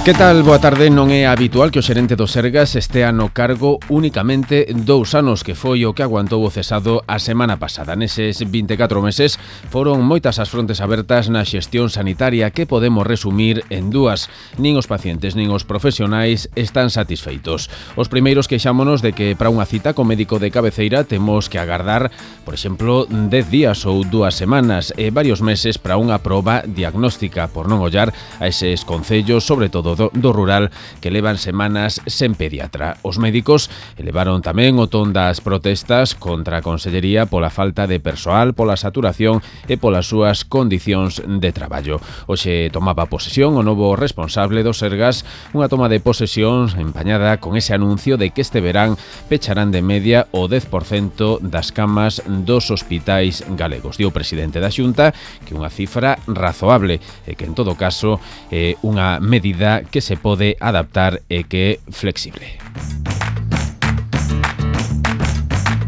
Que tal? Boa tarde. Non é habitual que o xerente do Sergas estea no cargo únicamente 2 anos, que foi o que aguantou o cesado a semana pasada. Neses 24 meses foron moitas as frontes abertas na xestión sanitaria, que podemos resumir en dúas. Nin os pacientes nin os profesionais están satisfeitos. Os primeiros queixámonos de que para unha cita co médico de cabeceira temos que agardar, por exemplo, 10 días ou 2 semanas e varios meses para unha proba diagnóstica, por non ollar a eses concellos, sobre todo do rural, que levan semanas sen pediatra. Os médicos elevaron tamén o ton das protestas contra a Consellería pola falta de persoal, pola saturación e polas súas condicións de traballo. Hoxe tomaba posesión o novo responsable do Sergas, unha toma de posesión empañada con ese anuncio de que este verán pecharán de media o 10% das camas dos hospitais galegos. Dio o presidente da Xunta que unha cifra razoable e que en todo caso é unha medida que se pode adaptar e que é flexible.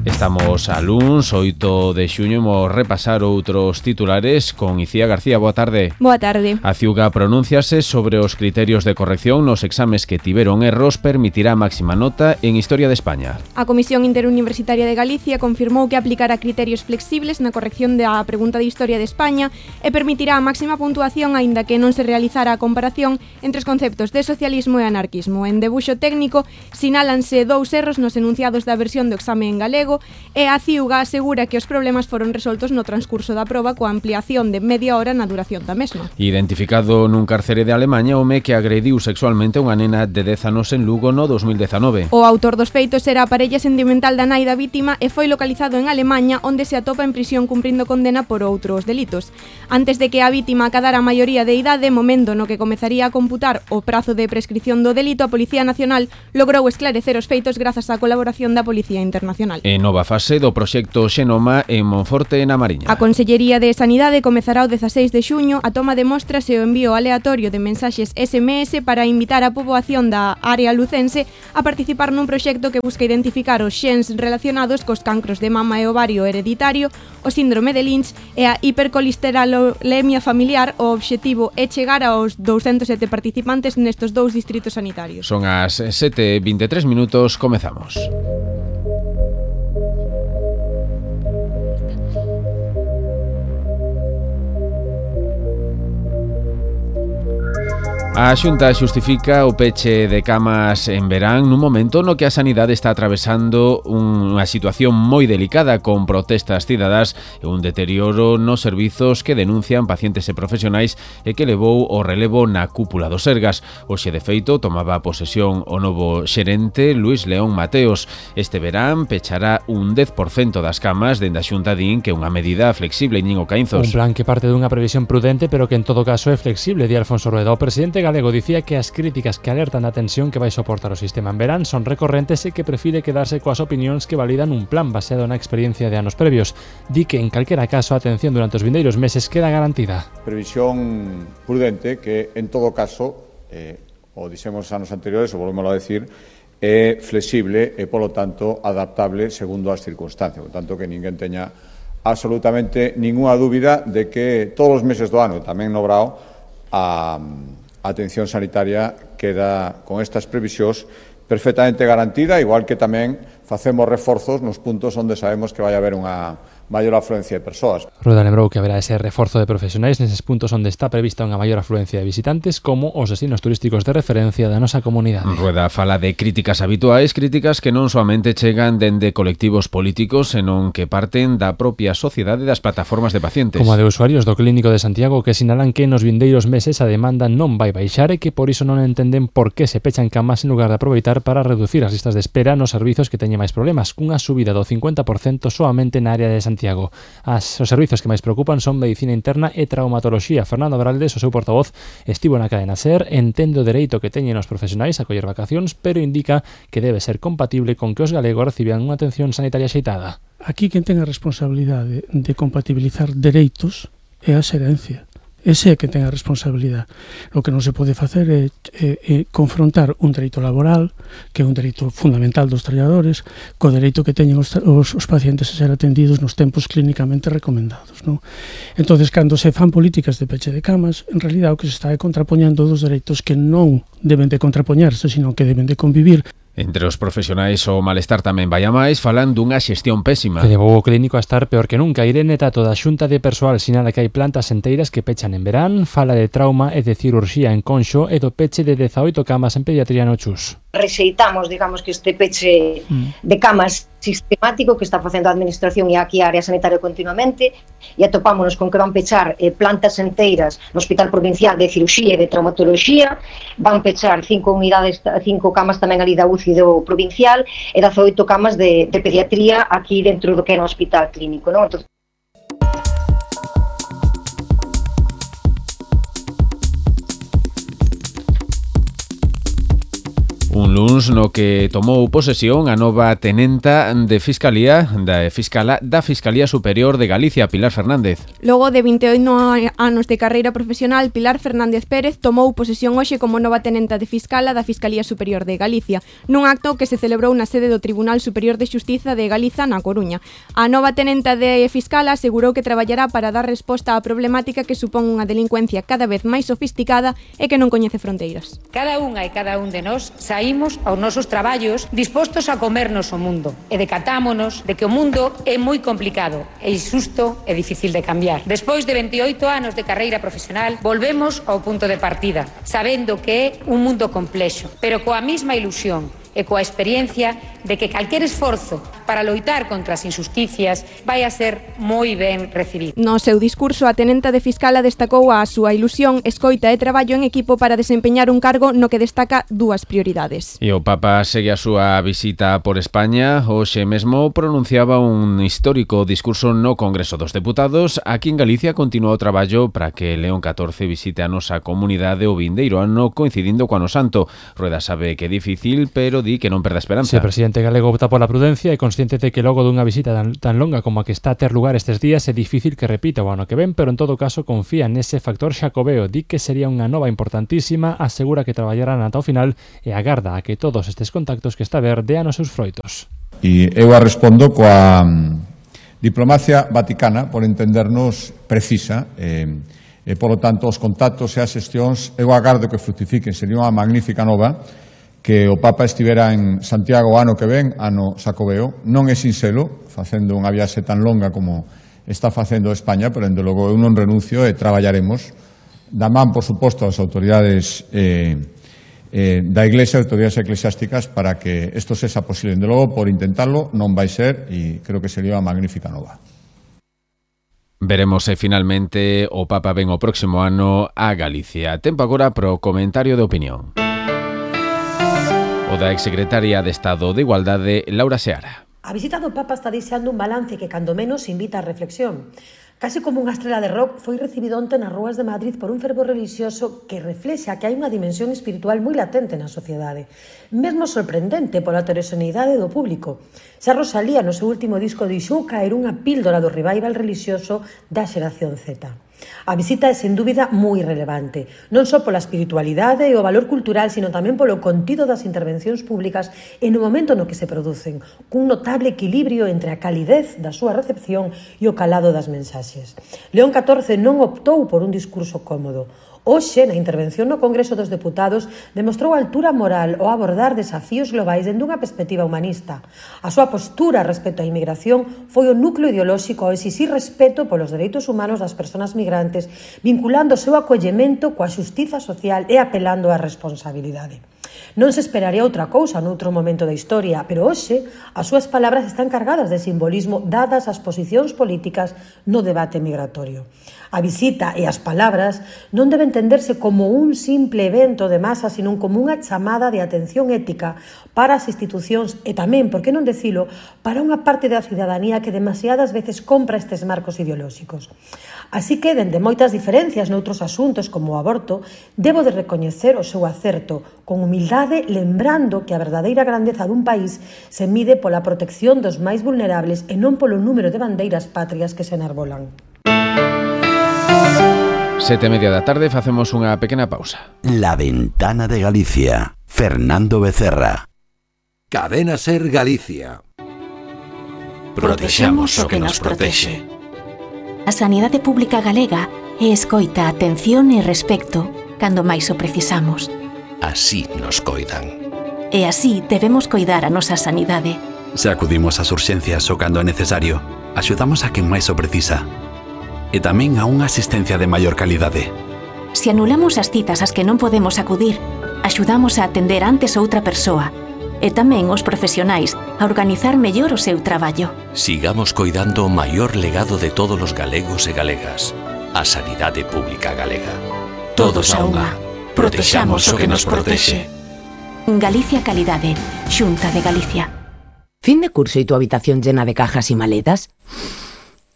Estamos a luns, 8 de xuño, imos repasar outros titulares con Icía García. Boa tarde. Boa tarde. A Ciuga pronúnciase sobre os criterios de corrección nos exames que tiveron erros, permitirá máxima nota en Historia de España. A Comisión Interuniversitaria de Galicia confirmou que aplicará criterios flexibles na corrección da pregunta de Historia de España e permitirá a máxima puntuación aínda que non se realizara a comparación entre os conceptos de socialismo e anarquismo. En debuxo técnico sinálanse 2 erros nos enunciados da versión do exame en galego e a Ciuga asegura que os problemas foron resoltos no transcurso da proba coa ampliación de media hora na duración da mesma. Identificado nun cárcere de Alemanha o home que agrediu sexualmente a unha nena de 10 anos en Lugo no 2019. O autor dos feitos era a parella sentimental da nai da vítima e foi localizado en Alemaña, onde se atopa en prisión cumprindo condena por outros delitos. Antes de que a vítima acadara a maioría de idade, momento no que comezaría a computar o prazo de prescripción do delito, a Policía Nacional logrou esclarecer os feitos grazas á colaboración da Policía Internacional. Nova fase do proxecto Xenoma en Monforte, na Mariña. A Consellería de Sanidade comezará o 16 de xuño a toma de mostras e o envío aleatorio de mensaxes SMS para invitar a poboación da área lucense a participar nun proxecto que busca identificar os xens relacionados cos cancros de mama e ovario hereditario, o síndrome de Lynch e a hipercolesterolemia familiar. O obxectivo é chegar aos 207 participantes nestes 2 distritos sanitarios. Son as 7:23 minutos, comezamos. A Xunta xustifica o peche de camas en verán nun momento no que a sanidade está atravesando unha situación moi delicada con protestas cidadás e un deterioro nos servizos que denuncian pacientes e profesionais e que levou o relevo na cúpula do Sergas. Hoxe, de feito, tomaba posesión o novo xerente Luis León Mateos. Este verán pechará un 10% das camas dende a Xunta din que é unha medida flexible, Íñigo Caínzos. Un plan que parte dunha previsión prudente pero que en todo caso é flexible, di Alfonso Rueda. O presidente galego dicía que as críticas que alertan a tensión que vai soportar o sistema en verán son recorrentes e que prefire quedarse coas opinións que validan un plan baseado na experiencia de anos previos. Di que en calquera caso a atención durante os vindeiros meses queda garantida. Previsión prudente que en todo caso, o dixemos anos anteriores, o volvemos a decir, é flexible e polo tanto adaptable segundo as circunstancias, por tanto que ninguén teña absolutamente ninguna dúbida de que todos os meses do ano, tamén no Brao, a atención sanitaria queda con estas previsións perfectamente garantida, igual que tamén facemos reforzos nos puntos onde sabemos que vai haber unha maior afluencia de persoas. Rueda lembrou que haberá ese reforzo de profesionais neses puntos onde está prevista unha maior afluencia de visitantes, como os destinos turísticos de referencia da nosa comunidade. Rueda fala de críticas habituais, críticas que non soamente chegan dende colectivos políticos, senón que parten da propia sociedade das plataformas de pacientes. Como a de usuarios do Clínico de Santiago, que sinalan que nos vindeiros meses a demanda non vai baixar e que por iso non entenden por que se pechan camas en lugar de aproveitar para reducir as listas de espera nos servizos que teñen máis problemas, cunha subida do 50% soamente na área de Santiago. Os servizos que máis preocupan son medicina interna e traumatoloxía. Fernando Abraldes, o seu portavoz, estivo na cadena SER, entende o dereito que teñen os profesionais a coller vacacións, pero indica que debe ser compatible con que os galegos reciban unha atención sanitaria xeitada. Aquí quen ten a responsabilidade de compatibilizar dereitos é a xerencia. Ese é que ten a responsabilidade. O que non se pode facer é confrontar un dereito laboral, que é un dereito fundamental dos traballadores, co dereito que teñen os pacientes a ser atendidos nos tempos clínicamente recomendados, non? Entonces, cando se fan políticas de peche de camas, en realidad o que se está é contrapoñendo dos dereitos que non deben de contrapoñarse, sino que deben de convivir. Entre os profesionais o malestar tamén vai a máis, falan dunha xestión pésima. Que levou o clínico a estar peor que nunca. Irene Tato da Xunta de Persoal sinala que hai plantas enteiras que pechan en verán, fala de trauma e de cirurxía en Conxo e do peche de 18 camas en pediatría no Chus. Rexeitamos, digamos, que este peche de camas sistemático que está facendo a Administración e aquí a área sanitaria continuamente, e atopámonos con que van pechar plantas enteiras no Hospital Provincial de Cirurxía e de Traumatoloxía, van pechar 5 camas tamén ali da UCI do Provincial e 18 camas de pediatría aquí dentro do que era o Hospital Clínico, non? Entón, un luns no que tomou posesión a nova tenenta de Fiscalía da Fiscalía Superior de Galicia, Pilar Fernández. Logo de 28 anos de carreira profesional, Pilar Fernández Pérez tomou posesión hoxe como nova tenenta de Fiscala da Fiscalía Superior de Galicia, nun acto que se celebrou na sede do Tribunal Superior de Xustiza de Galiza na Coruña. A nova tenenta de Fiscala asegurou que traballará para dar resposta á problemática que supón unha delincuencia cada vez máis sofisticada e que non coñece fronteiras. Cada unha e cada un de nós saímos aos nosos traballos dispostos a comernos o mundo e decatámonos de que o mundo é moi complicado e injusto e difícil de cambiar. Despois de 28 anos de carreira profesional, volvemos ao punto de partida, sabendo que é un mundo complexo, pero coa mesma ilusión e coa experiencia de que calquer esforzo para loitar contra as injusticias vai a ser moi ben recibido. No seu discurso, a tenenta de Fiscala destacou a súa ilusión, escoita e traballo en equipo para desempeñar un cargo no que destaca dúas prioridades. E o Papa segue a súa visita por España. Hoxe mesmo pronunciaba un histórico discurso no Congreso dos Deputados. Aquí en Galicia continúa o traballo para que León XIV visite a nosa comunidade o vindeiro ano coincidindo co Ano Santo. Rueda sabe que é difícil, pero di que non perda esperanza. Sí, o presidente galego opta pola prudencia e consciente de que logo dunha visita tan longa como a que está a ter lugar estes días é difícil que repita o ano que ven, pero en todo caso confía nese factor xacobeo, di que sería unha nova importantísima, asegura que traballarán ata o final e agarda a que todos estes contactos que está a ver dean os seus froitos. E eu a respondo coa diplomacia vaticana, por entendernos, precisa, e polo tanto os contactos e as xestións eu agardo que fructifiquen. Sería unha magnífica nova que o Papa estivera en Santiago o ano que ven, ano Xacobeo. Non é sinxelo, facendo unha viaxe tan longa como está facendo España, pero, dende logo, eu non renuncio e traballaremos da man, por suposto, as autoridades da Iglesia, autoridades eclesiásticas, para que isto sexa posible. Dende logo, por intentarlo, non vai ser, e creo que sería unha magnífica nova. Veremos se finalmente o Papa ven o próximo ano a Galicia. Tempo agora pro comentario de opinión. O da exsecretaria de Estado de Igualdade, Laura Seara. A visita do Papa está deixando un balance que, cando menos, invita a reflexión. Case como unha estrela de rock, foi recibido onte nas rúas de Madrid por un fervor religioso que reflexa que hai unha dimensión espiritual moi latente na sociedade, mesmo sorprendente pola heteroxeneidade do público. Xa Rosalía, no seu último disco, dixou caer unha píldora do revival religioso da xeración Z. A visita é, sen dúbida, moi relevante, non só pola espiritualidade e o valor cultural, sino tamén polo contido das intervencións públicas e no momento no que se producen, cun notable equilibrio entre a calidez da súa recepción e o calado das mensaxes. León XIV non optou por un discurso cómodo. Hoxe, na intervención no Congreso dos Deputados, demostrou a altura moral ao abordar desafíos globais dende unha perspectiva humanista. A súa postura respecto á inmigración foi o núcleo ideolóxico ao exixir respeto polos dereitos humanos das persoas migrantes, vinculando o seu acollemento coa xustiza social e apelando á responsabilidade. Non se esperaría outra cousa noutro momento da historia, pero hoxe as súas palabras están cargadas de simbolismo dadas as posicións políticas no debate migratorio. A visita e as palabras non deben entenderse como un simple evento de masa, sino como unha chamada de atención ética para as institucións e tamén, por que non dicilo, para unha parte da cidadanía que demasiadas veces compra estes marcos ideolóxicos. Así que, dende moitas diferencias noutros asuntos como o aborto, debo de recoñecer o seu acerto, con humildade, lembrando que a verdadeira grandeza dun país se mide pola protección dos máis vulnerables e non polo número de bandeiras patrias que se enarbolan. 7:30 da tarde facemos unha pequena pausa. La Ventana de Galicia. Fernando Becerra. Cadena Ser Galicia. Protexamos o que nos protexe. A sanidade pública galega é escoita, atención e respecto cando máis o precisamos. Así nos coidan. E así debemos coidar a nosa sanidade. Se acudimos ás urxencias o cando é necesario, axudamos a quen máis o precisa. E tamén a unha asistencia de maior calidade. Se anulamos as citas ás que non podemos acudir, axudamos a atender antes outra persoa. E tamén os profesionais a organizar mellor o seu traballo. Sigamos coidando o maior legado de todos os galegos e galegas, a sanidade pública galega. Todos a unha. Protexamos o que nos protexe. Galicia Calidade, Xunta de Galicia. ¿Fin de curso y tu habitación llena de cajas y maletas?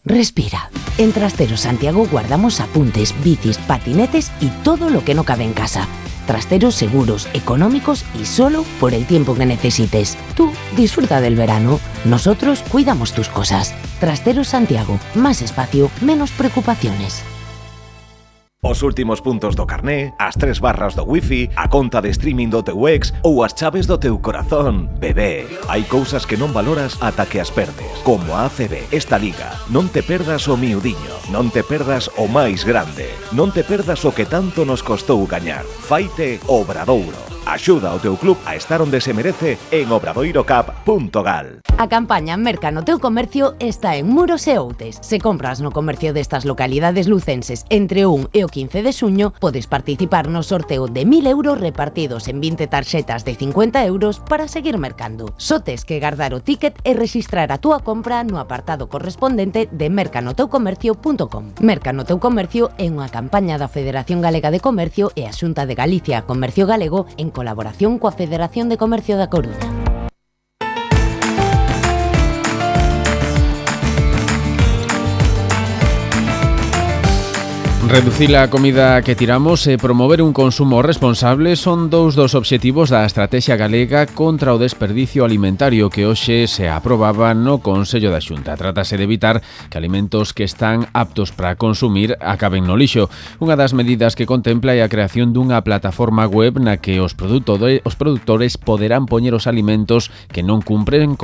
Respira. En Trasteros Santiago guardamos apuntes, bicis, patinetes y todo lo que no cabe en casa. Trasteros seguros, económicos y solo por el tiempo que necesites. Tú disfruta del verano. Nosotros cuidamos tus cosas. Trasteros Santiago. Más espacio, menos preocupaciones. Os últimos puntos do carné, as 3 barras do wifi, a conta de streaming do teu ex ou as chaves do teu corazón. Bebé, hai cousas que non valoras ata que as perdes. Como a ACB, esta liga. Non te perdas o miudiño, non te perdas o máis grande, non te perdas o que tanto nos costou gañar. Faite Obradouro. Axuda ao teu club a estar onde se merece en obradoirocap.gal. A campaña Merca no teu comercio está en Muros e Outes. Se compras no comercio destas localidades lucenses entre o 1 e o 15 de xuño, podes participar no sorteo de 1.000 euros repartidos en 20 tarxetas de 50 euros para seguir mercando. Só tes que guardar o ticket e registrar a túa compra no apartado correspondente de mercanoteucomercio.com. Merca no teu comercio é unha campaña da Federación Galega de Comercio e a Xunta de Galicia Comercio Galego en colaboración coa Federación de Comercio da Coruña. Reducir a comida que tiramos e promover un consumo responsable son dous dos obxectivos da Estratexia Galega contra o desperdicio alimentario que hoxe se aprobaba no Consello da Xunta. Trátase de evitar que alimentos que están aptos para consumir acaben no lixo. Unha das medidas que contempla é a creación dunha plataforma web na que os produtores poderán poñer os alimentos que non cumpren